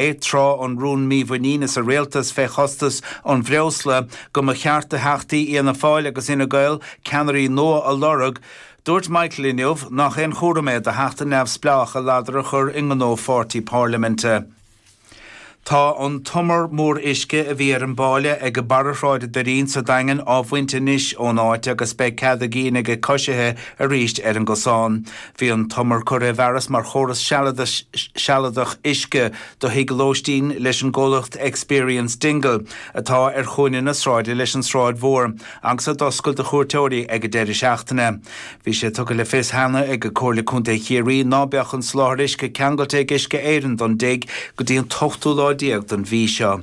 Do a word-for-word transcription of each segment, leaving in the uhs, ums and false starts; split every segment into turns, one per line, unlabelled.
Tráth an rún mímhuiníne sa rialtas fé chostas an bhreosla go mba cheart do theachtaí Fhianna Fáil agus Fhine Gael ceannairí nua a lorg, dúirt Michael inniu nach aon chúram é do theachta neamhspleách a ladar a chur i ngnó pháirtí parlaiminte. Tá an t-umar mór uisce a bhí ar an bpáile ag barra Shráid an Doirín sa Daingean á bhaint anois ón áit agus beidh cead a gcinn ag coisithe arís ar an gcosán. Bhí an t-umar curtha i bhfearas mar chóras sealadach uisce do thigh lóistín leis an gcomhlacht Experience Dingle atá ar chúinne na sráide leis an Sráid Mhór agus a d'oscail do chuairteoirí ag an deireadh seachtaine. Bhí sé tugtha le fios cheana ag Comhairle Contae Chiarraí ná beadh an soláthar uisce ceangailte ag Uisce Éireann don dtigh go dtí an t-ochtú lá déag den mhí seo.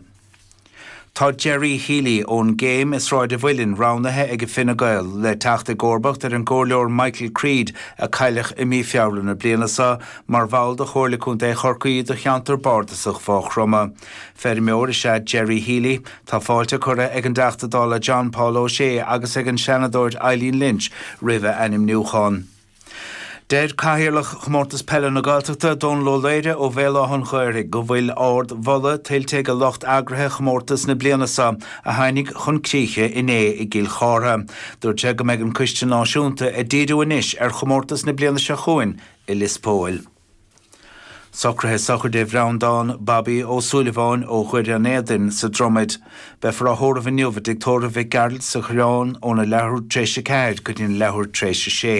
Tá Gerry Healy ón gCéim i Sráid an Mhuilinn roghnaithe ag Fine Gael le teacht i gcomharbacht ar an gcomhairleoir Michael Creed a cailleadh i mí Feabhra na bliana seo mar bhall de Chomhairle Contae Chorcaí do cheantar bardasach Mhaigh Chromtha. Feirmeoir is ea Gerry Healy. Tá fáilte curtha ag an dTeachta Dála John Paul O'Shea agus ag an Seanadóir Eileen Lynch roimh a ainmniúchán. Deir Cathaoirleach Chomórtas Peile na Gaeltachta, Dónal Ó Laoire ó Bhéal Átha an Ghaorthaidh, go bhfuil ardmholadh tuillte ag lucht eagraithe chomórtas na bliana seo a tháinig chun críche inné i gCill Chártha. Dúirt sé go mbeidh an Coiste Náisiúnta ag díriú anois ar chomórtas na bliana seo chugainn i Lios Póil. Socruithe sochraide Bhreandán Bobby Ó Súilleabháin ó Dhoire an Éadain sa Dromaid. Beifear á thórramh inniu i dTigh Tórraimh Mhic Gearailt sa Choireán óna leathuair tar éis a ceathair go dtí an leathuair tar éis a sé.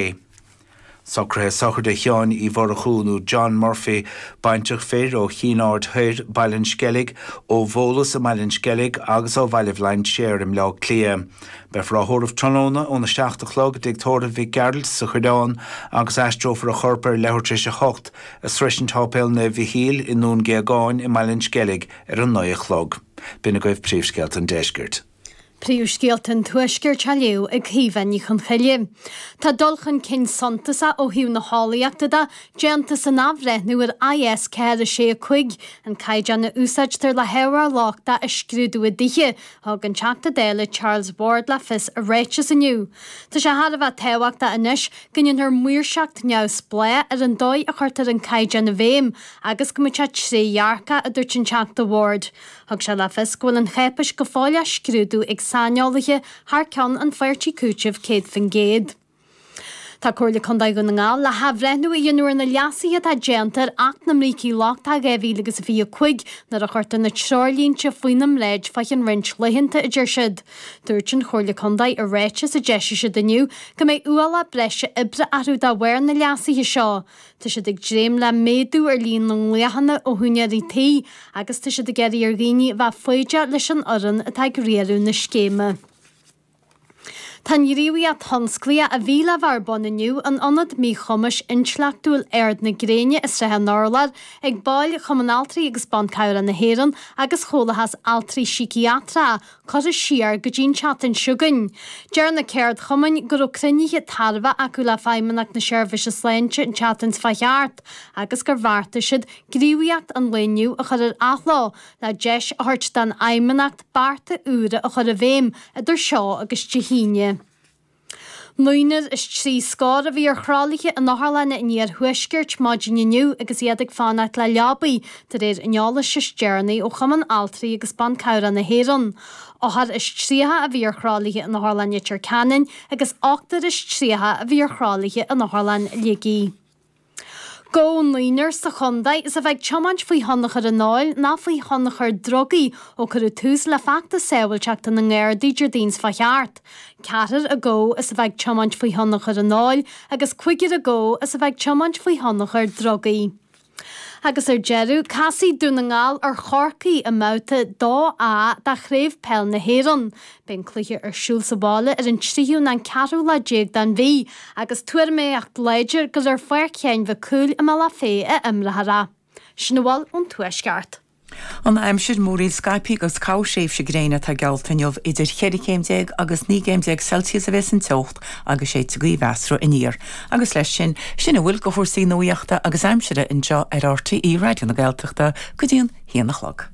Socruithe sochraide Sheáin Uí Mhurchú nó John Murphy, baintreach fir ó Chinn Aird Thoir, Baile an Sceilg, ó Bhólas i mBaile an Sceilg agus ó Bhaile Bhlainséir i mBleá Cliath. Beifear á thórramh tráthnóna óna seacht a chlog i dTigh Tórraimh Mhic Gearailt sa Choireán agus aistreofar a chorp ar leathuair tar éis a hocht ag sroisint Sháipéal Naomh Mhichíl i nDún Géagáin i mBaile an Sceilg ar a naoi a chlog. B'in agaibh príomhscéalta an deiscirt.
Príomhscéalta an Tuaiscirt á léamh ag Caoimhe Ní Chonchoille. Tá dul chun cinn suntasach ó thaobh na heolaíochta de déanta san athbhreithniú ar I S ceathair a sé a cúig, an caighdeán a úsáidtear le hábhar lochtach a scrúdú i dtithe, thug an Teachta Dála Charles Ward le fios i ráiteas inniu. Tá sé thar a bheith tábhachtach anois go ndéanfar maoirseacht neamhspleách ar an dóigh a chuirtear an caighdeán i bhfeidhm agus go mbeidh sé trédhearcach, a dúirt an Teachta Ward. Thug sé le fios go bhfuil an cháipéis go fóill á scrúdú ag saineolaithe thar ceann an pháirtí cúitimh céad faoin gcéad. Tá Comhairle Contae Dhún na nGall le hathbhreithniú a dhéanamh ar na leasuithe atá déanta ar Acht na mBrící Lochtacha dhá mhíle agus a fiche a cúig nuair a chuirtear na treoirlínte faoina mbráid fá cheann roinnt laethanta, a deir siad. Dúirt an Chomhairle Contae i ráiteas a d'eisigh siad inniu go mbeidh ualach breise oibre orthu de bharr na leasuithe seo. Tá siad ag dréim le méadú ar líon na nglaochanna ó úinéirí tí agus tá siad ag iarraidh ar dhaoine a bheith foighdeach leis an fhoireann atá ag riaradh na scéime. Tá an ghníomhaíocht thionsclaíoch a bhí le bheith ar bun inniu in Ionad Míchumais Intleachtúil Ard na Gréine i Srath an Urláir ag baill Chumann Altraí agus Ban Cabhrach na hÉireann agus Chomhlathas Altraí Síciatracha curtha siar go dtí an tseachtain seo chugainn. Deir na ceardchumainn go raibh cruinnithe tairbhe acu le Feidhmeannacht na Seirbhíse Sláinte an tseachtain seo thart agus gur bheartaigh siad gníomhaíocht an lae inniu a chur ar athló le deis a thabhairt don Fheidhmeannacht bearta úra a chur i bhfeidhm idir seo agus Dé hAoine. Naonúr is trí scór a bhí ar thralaithe in otharlanna an iarthuaiscirt maidin inniu agus iad ag fanacht le leabaí de réir an eolais is deireanaí ó Chumann Altraí agus Ban Cabhrach na hÉireann. Ochtar is tríocha a bhí ar thralaithe in Otharlann Leitir Ceanainn agus ochtar is tríocha a bhí ar thralaithe in Otharlann Shligigh. Gabhadh naonúr sa chontae is a bheith ag tiomáint faoi thionchar an óil ná faoi thionchar drugaí ó cuireadh tús le feachtas sábháilteachta na nGardaí Déardaoin seo thart. Ceathrar a gabhadh is a bheith ag tiomáint faoi thionchar an óil agus cúigear a gabhadh is a bheith ag tiomáint faoi thionchar drugaí. Agus ar deireadh, casfaidh Dún na nGall ar Chorcaigh i mbabhta dó A de Chraobh Peil na hÉireann. Beidh an cluiche ar siúl sa bhaile ar an tríú nó an ceathrú lá déag den mhí, agus tuairimíocht láidir gur ar Pháirc Sheáin Mhic Cumhaill i mBealach Féich a imreofar é. Sin a bhfuil ón Tuaisceart.
An aimsir múraíl scaipthe agus corrthréimhse gréine atá geallta inniu idir cheithre chéim déag agus naoi gcéim déag Celsius a bheas an teocht agus séidfidh gaoth mheasartha aniar. Agus leis sin, sin a bhfuil de chúrsaí nuachta agus aimsire anseo ar R T E Raidió na Gaeltachta go dtí an haon a chlog.